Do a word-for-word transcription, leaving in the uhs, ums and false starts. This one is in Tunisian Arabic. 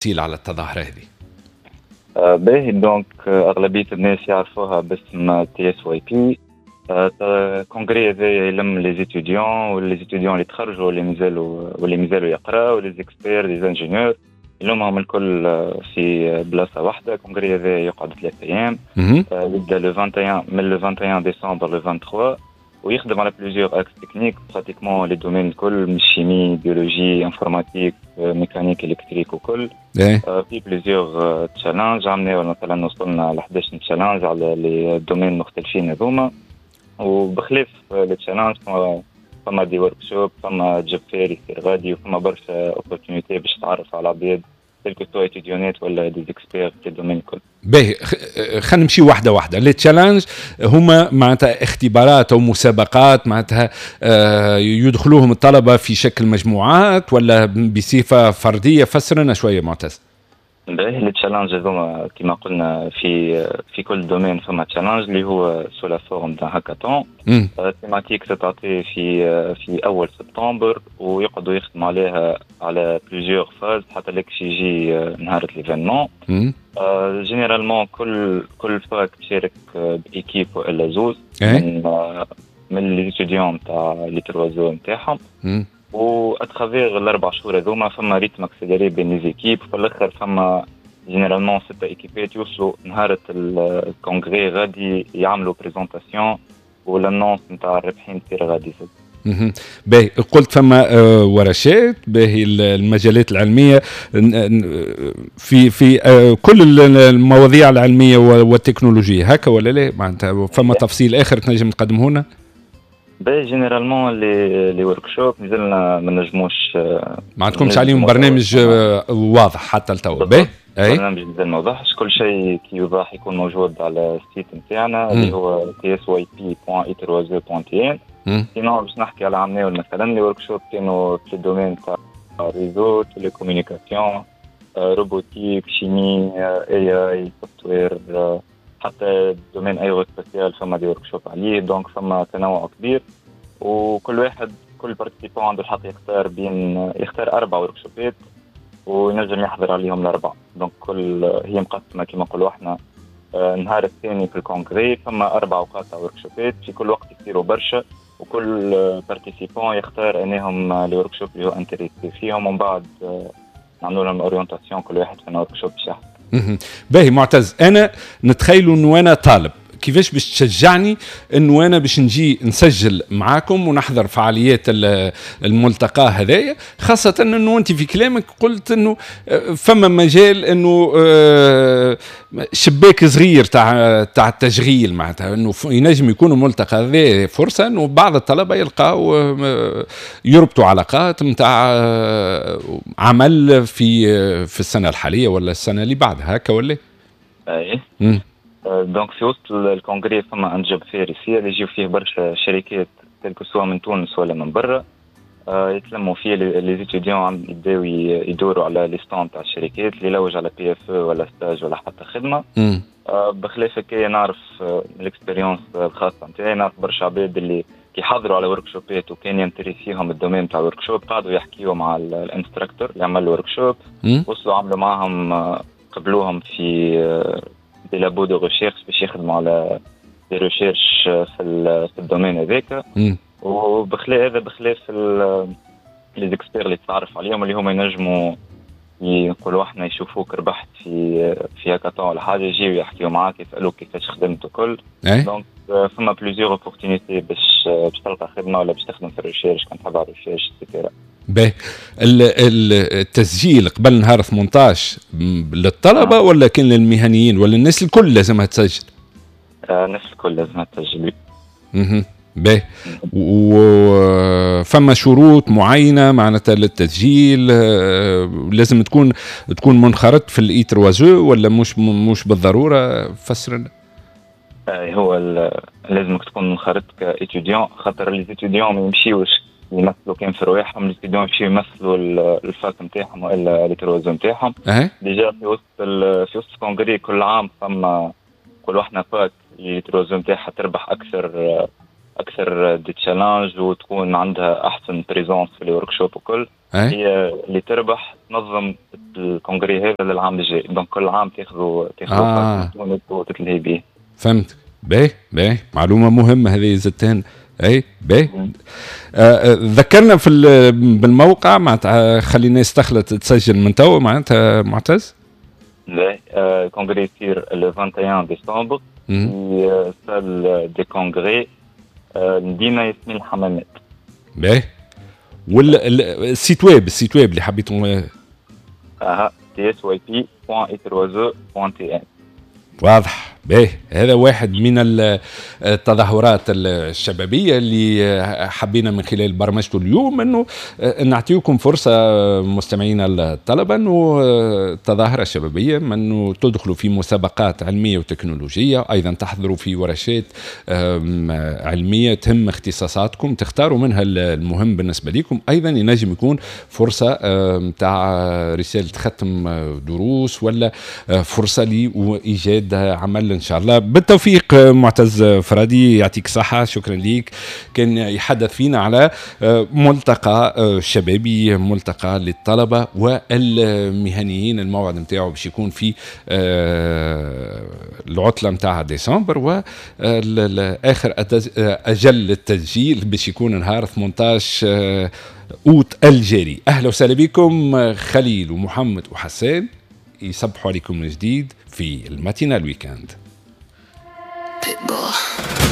على التظاهرة هذه. آه، باهي، donc آه، اغلبية الناس يعرفوها باسم تي اس واي بي. congrès هذا يلم les étudiants و les étudiants اللي تخرجوا واللي مازالوا واللي مازالوا يقراوا، les experts، les ingénieurs، يلمهم الكل آه، في بلاصة واحده. congrès هذا يقعد ثلاث ايام، يبدا le واحد وعشرين، من le واحد وعشرين décembre le ثلاثة وعشرين، ويخدم على plusieurs axes techniques، pratiquement les domaines الكل، من chimie، biologie، informatique، mécanique، électrique وكل. إيه. في plusieurs challenges، عملنا مثلا وصلنا ل حداش challenge على les domaines مختلفين هذوما. وبخلاف les challenges فما des workshops، فما job fair يصير غادي، وفما برشا opportunités باش تعرف على عباد، que ce soit étudiants ولا des experts في ال domaine الكل. باهي، خلينا نمشي واحدة واحده. les challenges هما معناتها اختبارات او مسابقات، معناتها آه، يدخلوهم الطلبة في شكل مجموعات ولا بصفة فرديه؟ فسر لنا شوية معتز. باهي، les challenges هذوما كما قلنا في في كل domaine فما challenge اللي هو sous la forme d'un hackathon thématique تتعطي في في اول سبتمبر، ويقعدوا يخدموا عليها على plusieurs phases حتى لك يجي نهار l'événement. généralement كل كل fac تشارك ب équipe والا زوز من من les étudiants تاع les trois E نتاعهم، و à travers الاربع شهور هذوما فما rythme accéléré بين les équipes. في الاخر فما généralement ستة équipe ات يوصلوا نهار ال congrès غادي، يعملوا présentation، و l'annonce نتاع الرابحين تصير غادي زاد. باهي، قلت فما آه، ورشات. باهي، المجالات العلمية في في آه، كل المواضيع العلمية والتكنولوجيه هكا ولا لا؟ معناتها فما تفصيل اخر تنجم تقدمه لنا؟ باهي، généralement les les workshops مازلنا ما نجموش. ما عندكمش عليهم برنامج واضح حتى لتوا؟ باهي. اي، برنامج مازال ما وضحش. كل شيء كي يوضح يكون موجود على ال site نتاعنا اللي هو تي اس واي بي دوت اي ثلاثة او دوت تي ان. sinon باش نحكي على عمناول مثلا، les workshops كانوا في ال domaine تاع réseau، télécommunication، robotique، chimie، AI، software، حتى domaine aérospatial فما des workshops عليه. donc فما تنوع كبير، وكل واحد، كل participant عنده الحق يختار بين يختار اربع workshop ات وينجم يحضر عليهم الاربعه. donc كل هي مقسمة كما نقولوا احنا آه، النهار الثاني في ال congrès فما اربع اوقات تاع workshop ات، في كل وقت يصيروا برشا، وكل participant يختار انهم les workshops اللي هو intéressé فيهم، ومن بعد آه، نعملوا لهم orientation كل واحد في workshop باش يحضر. باهي معتز، انا نتخيل انه انا طالب، كيفاش باش تشجعني انه انا باش نجي نسجل معاكم ونحضر فعاليات الملتقى هذايا، خاصة انه انت في كلامك قلت انه آه، فما مجال انه آه، شباك صغير تاع تاع التشغيل، معناتها انه ينجم يكون الملتقى هذا فرصة انه بعض الطلبة يلقاو آه، يربطوا علاقات نتاع عمل في في السنة الحالية ولا السنة اللي بعدها، هكا ولا؟ اي، donc في وسط ال congrès فما un job fair يصير، اللي يجيو فيه برشا شركات، que ce soit من تونس ولا من برا، آه، يتلموا فيه les étudiants، يبداو يدوروا على les stands تاع الشركات اللي يلوج على PFE ولا stage ولا حتى خدمه. آه، بخلاف هكايا نعرف من ال expérience الخاصة نتاعي، نعرف برشا عباد اللي كي حضروا على workshop ات وكان ينتريسيهم ال domaine تاع ال workshop، قعدوا يحكيوا مع ال instructeur اللي عمل ال workshop، وصلوا عملوا معهم، آه، قبلوهم في des labos de recherche باش يخدموا على des recherches في في ال domaine هذاك. وبخلاف هذا، بخلاف les experts اللي تتعرف عليهم، اللي هما ينجموا يقولوا احنا يشوفوك ربحت في في هاكاثون ولا حاجه، يجيو يحكيو معاك، يسالوك كيفاش خدمت وكل. donc فما plusieurs opportunités باش باش تلقى خدمة ولا باش تخدم في ال recherche كان تحب على ال recherche et cetera. باهي، التسجيل قبل نهار ثمنطاش للطلبة آه. ولا كان للمهنيين ولا الناس الكل لازمها تسجل؟ آه، الناس الكل لازمها تسجل. اها، باهي، وفما شروط معينة معناتها للتسجيل؟ آه، لازم تكون تكون منخرط في ال I ثلاثة O ولا مش مش بالضروره؟ فسر لنا. هو لازمك تكون منخرط ك étudiant، خاطر les étudiants ما يمشيوش يمثلوا كان في رواحهم، les étudiants يمشيو يمثلوا ال fac نتاعهم والا les trois E نتاعهم. déjà في وسط في وسط ال congrès كل عام فما نقولوا احنا fac les trois E نتاعها تربح اكثر. اكثر des challenges وتكون عندها احسن présence في ال workshop وكل، هي اللي تربح تنظم ال congrès هذا للعام الجاي. donc كل عام تاخذوا تاخذوا آه. وتتلهي به. فهمت. باهي باهي، معلومة مهمة هذه زدتين. اي باهي، آه، آه، ذكرنا في بالموقع معناتها، خلي الناس تخلط تسجل من تو معناتها معتز. باهي، ال congrès يصير le واحد وعشرين ديسمبر في salle des congrès مدينة ياسمين الحمامات. باهي، وال site web، ال site web اللي حبيتوا؟ اها، تي اس واي بي دوت اي ثري او دوت تي ان. واضح. باهي، هذا واحد من التظاهرات الشبابية اللي حبينا من خلال برمجته اليوم انه نعطيكم فرصة مستمعينا الطلبة، انه التظاهرة الشبابية انه تدخلوا في مسابقات علمية وتكنولوجيه، ايضا تحضروا في ورشات علمية تهم اختصاصاتكم، تختاروا منها المهم بالنسبة لكم. ايضا ينجم يكون فرصة نتاع رسالة ختم دروس ولا فرصة لايجاد عمل ان شاء الله. بالتوفيق معتز فرادي، يعطيك صحة، شكرا ليك. كان يحدث فينا على ملتقى شبابي، ملتقى للطلبة والمهنيين. الموعد نتاعو باش يكون في آه، العطلة نتاع ديسمبر، واخر اجل للتسجيل باش يكون نهار ثمنطاش اوت الجاري. اهلا وسهلا بكم، خليل ومحمد وحسان يصبحوا عليكم من جديد في ال matinale week-end. Pitbull.